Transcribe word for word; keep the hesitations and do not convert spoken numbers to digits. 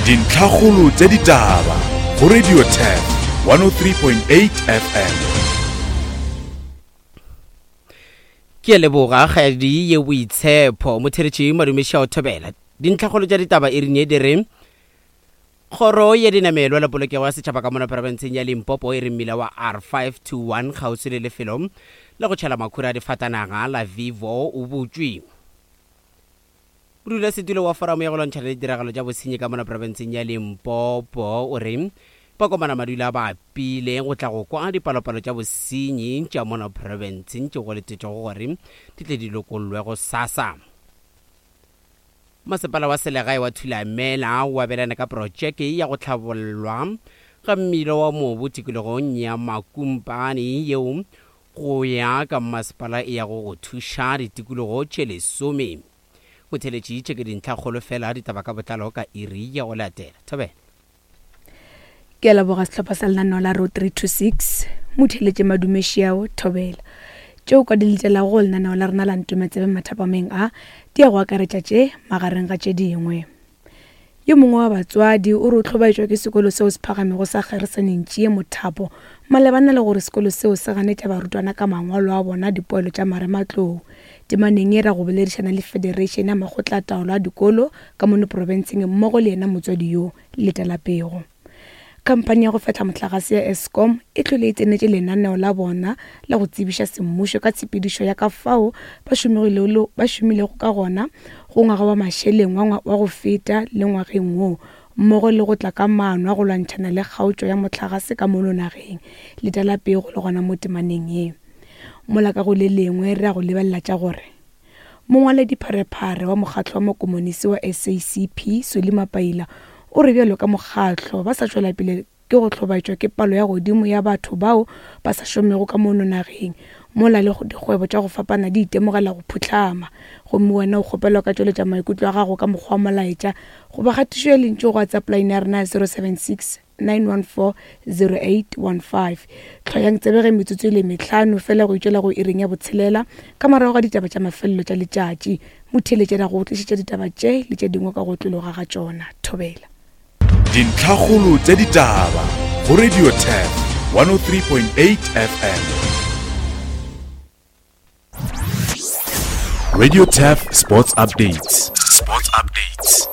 Dintlhakgolo tša ditaba go Radio Turf one oh three point eight F M. Ke a leboga kgadi ye boitshepo motheretši madumeši a o thobela. Dintlhakgolo tša ditaba e rinye di re kgoro ya dinamelwa la polokego ya setšhaba ka mona profenseng ya Limpopo e re mmila wa R five two one kgauswi le lefelo la go tšhela makhura a difatanaga la Vivo o butšwe. Modulasetulo wa foramo ya go lwantšhana le ditiragalo tša bosenyi ka mona profenseng ya Limpopo o re bakomana madula ba pile go tla go kwa dipalopalo tša bosenyi tša mona profenseng tšeo go letetšwego gore di tle di lokollwe go sasa. Masepala wa selegae wa Thulamela o abelana ka projeke ya go tlhabollwa ga mmila wa mobu tikologong ya Makumpane yeo go ya ka masepala e yago go thuša ditikologo tše lesome. Motheletši tše ke dintlhakgolo fela ditaba ka botlalo ka iri ya go latela. Thobela. Ke a leboga sehlopha sa lenaneo la Road three two six. Motheletše madumeši ao Thobela. Tšeo ka di letelago go lenaneo la rena la Ntometsebe mathapameng a di ya go akaretša tše magareng ga tše dingwe. Yo mongwe wa batswadi o re o hlobaetšwa ke sekolo seo se phagamego sa Kgeresaneng Tšie Mothapo malebana le gore sekolo seo se ganetša barutwana ka mangwalo a bona dipoelo tša marematlou. Temaneng e ra go boledišana le Federation ya Makgotla a Taolo a Dikolo ka mono profenseng mmogo le yena motswadi yo letela pego. Khamphani ya go fehla mohlagase ya Eskom e hlwele e tsenetše lenaneo la bona la go tsebiša semmušo ka tshepedišo ya ka fao ba šomilego ba šomilego ka gona go ngwaga wa mašeleng wa wa go feta le ngwageng wo mmogo le go tla ka maano a go lwantšhana le kgaotšo ya mohlagase ka mono nageng. Letela pego le gona mo temaneng ye. Mola ka go le lengwe re ya go lebelela tša gore mongwaledipharephare wa mokgatlo wa makomonisi wa S A C P Solly Mapaila o re bjalo ka mokgatlo ba sa tšwela pele ke go hlobaetšwa ke palo ya godimo ya batho bao ba sa šomego ka mono nageng mola le dikgwebo tša go fapana di itemogela go phuhlama. Gomme wena o kgopelwa ka tšweletša maikutlo a gago ka mokgwa wa molaetša goba kgatišo ya lentšu go WhatsApp line ya rena ya zero seven six nine one four zero eight one five. Hloyang tsebe ge metsotso e le mehlano fela go itšwela go iring ya botshelela ka morago ga ditaba tša mafelelo tša letšatši. Motheeletši ra go tlišetša ditaba tše le tše dingwe ka go otlologa ga tšona. Thobela. Dintlhakgolo tša ditaba go Radio Turf one oh three point eight F M. Radio Turf Sports Updates. Sports Updates.